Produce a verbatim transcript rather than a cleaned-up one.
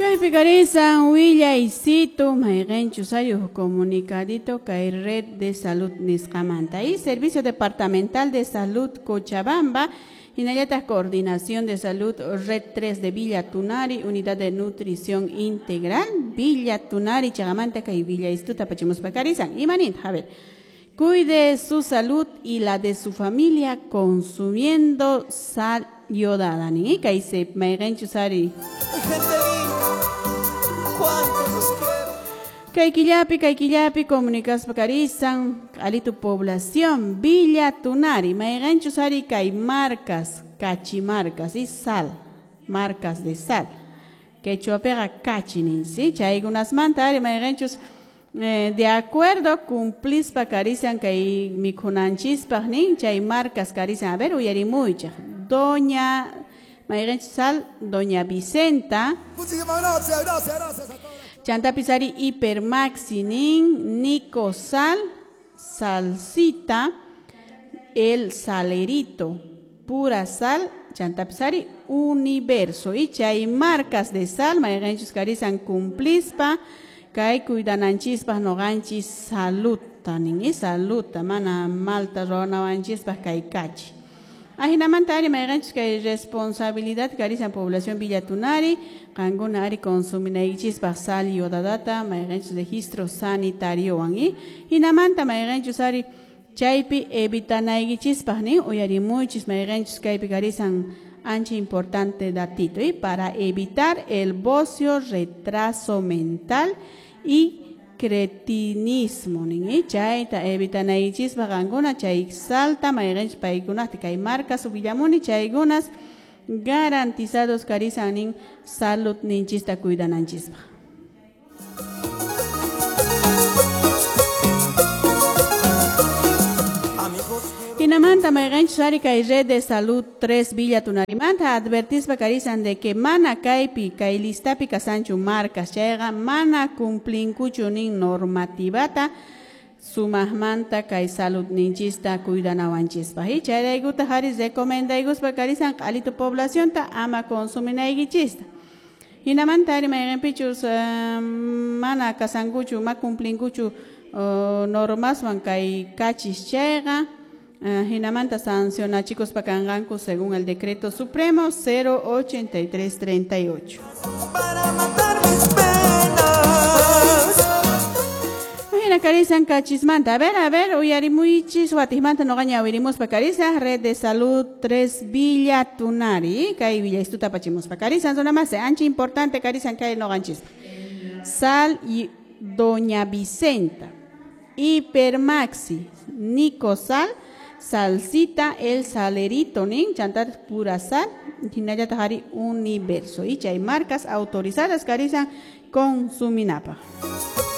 Kaypi karisan willaysitu mayqinchus hay comunicadito kay red de salud nisqamanta y Servicio Departamental de Salud Cochabamba hinallataq Coordinación de Salud Red tres de Villa Tunari, Unidad de Nutrición Integral Villa Tunari chaqamanta kay willaystuta apachimuspa karisan imaninta a ver. Cuide su salud y la de su familia consumiendo sal yodada. Ni kay se mayqinchus ari. Kay killapi, kay killapi, comunicaspa karisan, alito población, Villa Tunari, mayqinchus ari kay marcas, cachimarcas y sal, marcas de sal. Quechuapiqa kachi nin, ¿sí? Chaykunasmanta ari mayqinchus eh, de acuerdo cumplispa karisan kay mikhunanchispaq nin, chay marcas karisan, a ver, uyarimuychaq, Doña mayqinchus sal, Doña Vicenta. Muchísimas gracias, gracias, gracias a todos. Chantapis ari Hipermaxi nin, Nico Sal, Salsita, El Salerito, Pura Sal, chantapis ari Universo. Y chay marcas de sal, mayqinchus karisan cumplispa, kay cuidananchispaq noqanchis salud, nin, y salud, mana malta ruwanawanchispaq kay kachi. Ajinamanta ari mayqinchus kay responsabilidad karisan población Villa Tunari, qankuna ari consuminaykichispaq sal yodadata, mayqinchus registro sanitario y hinamanta mayqinchus ari chaypi evitanaykichispaq nin uyarimuychis mayqinchus kaypi karisan ancha importante datito y para evitar el bocio, retraso mental y cretinismo nin y chayta evitanaykichispaq qankuna chay salta mayqinchus paykunata kay marcas willamuni chaykunas garantizados karisan nin salud ninchista cuidananchispaq. Hinamanta mayqinchus ari kay red de salud tres Villa Tunarimanta advertispa karisan de que mana kaypi kay listapi kasanchu marcas chayqa mana cumplinkuchu nin normativata sumaqmanta kay salud ninchista cuidanawanchispaq. Y chayraykutaq ari recomendaykuspa karisan q'alito poblacionta ama consuminaykichista. Hinamanta ari mayqinpichus uh, mana kasankuchu ma cumplinkuchu uh, normaswan kay kachis chayqa Uh, hinamanta sancionachikuspa kanqanku según el decreto supremo cero ochenta y tres treinta y ocho. Para matar mis penas. Hina karisan kachismanta. A ver, a ver, uyarimuychis watijmanta noqaña awirimuspa karisan red de salud tres Villa Tunari. Kay Villa istuta apachimuspa karisan zona más ancha importante karisan kay noqanchispa. Sal y Doña Vicenta, Hipermaxi, Nico Sal, Salsita, El Salerito, nin, chantar pura sal, hinallataq ari Universo. Y chay marcas autorizadas karisan consuminapaq.